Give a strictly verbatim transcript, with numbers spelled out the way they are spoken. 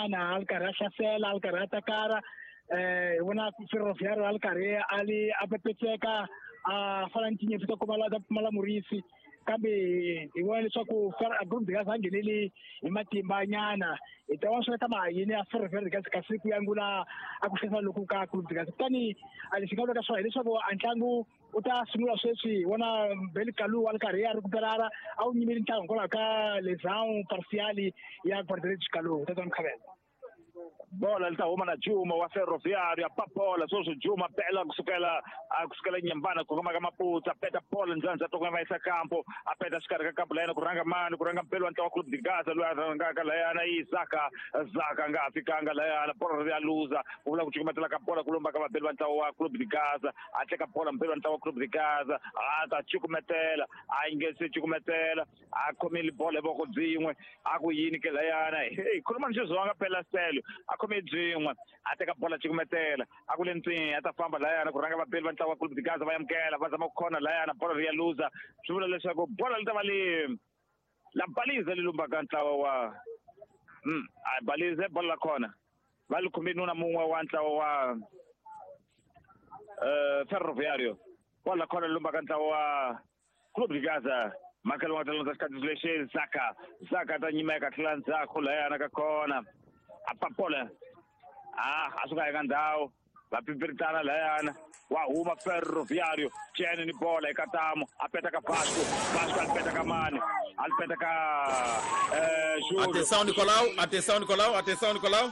nyana a ri karhi a hlasela, a ri karhi a takara. Eh hi vona Ferroviário a ri karhi a li a pepetseka a fana ni tinyimpfu ta kumala ta pfumala murisi, kambe hi vona leswaku Clube de Gaza a ngheneli hi matimba nyana. Hi ta vona swi ta ma yini ya Ferroviário de Gaza kasi ku yangula a ku hlasela loku ka Clube de Gaza. Kutani a lexi nga vulaka swona hileswaku a ntlangu u ta sungula sweswi. Hi vona Beli Kalu a ri karhi a recuperara, a wu nyimeli ntlangu hikwalaho ka lesão parcial ya guarda-redes Kalu. Tata Mkhabela. Bola li ta huma na Juma wa Ferroviário, a pa bola sweswi Juma bela kusukela a kusukela Nyambana ku koma ka Maputsa, peta bola ndzandza to va yisa kampo, a peta xikarhi ka kampo layena ku rhanga mani, ku rhanga mpelo wa ntlawa Clube de Gaza loyi a rhangaka layana i Zaka. Zaka nga ha fikanga layana, bola ri ya luza, ku vula ku cukumetela ka bola ku lomba ka vabeli va ntlawa wa Clube de Gaza. A teka bola mpelo wa ntlawa wa Clube de Gaza, a ta cukumetela, a yi nge se cukumetela, a khomile bola hi voko byin'we, a ku yini ke layana? Hey, khuluma ni xizonga phela selo. A khome byin'we, a teka bola cukumetela, a ku le ntswini, a ta famba layana ku rhanga vabeli va ntlawa wa Clube de Gaza, va amukela, va zama ku khona layana, bola ri ya luza. Swi vula leswaku bola li ta va li la balize li lumbaka ntlawa wa mm a balize bola la khona va li khome nuna mun'we wa ntlawa wa eh Ferroviário. Bola la khona li lumbaka ntlawa wa Clube de Gaza. Makelo wa talonza xikati lexi Zaka. Zaka ta nyimeka tlhela ndzhaku layana ka khona a papola a a suka eka ndhawu va pipiritana layana, wa huma Ferroviário Chene ni bola eka tamu, a peta ka Vasco. Vasco a peta ka mani, a peta ka eh Júlio. Atenção, Nicolau, atenção, Nicolau, atenção, Nicolau.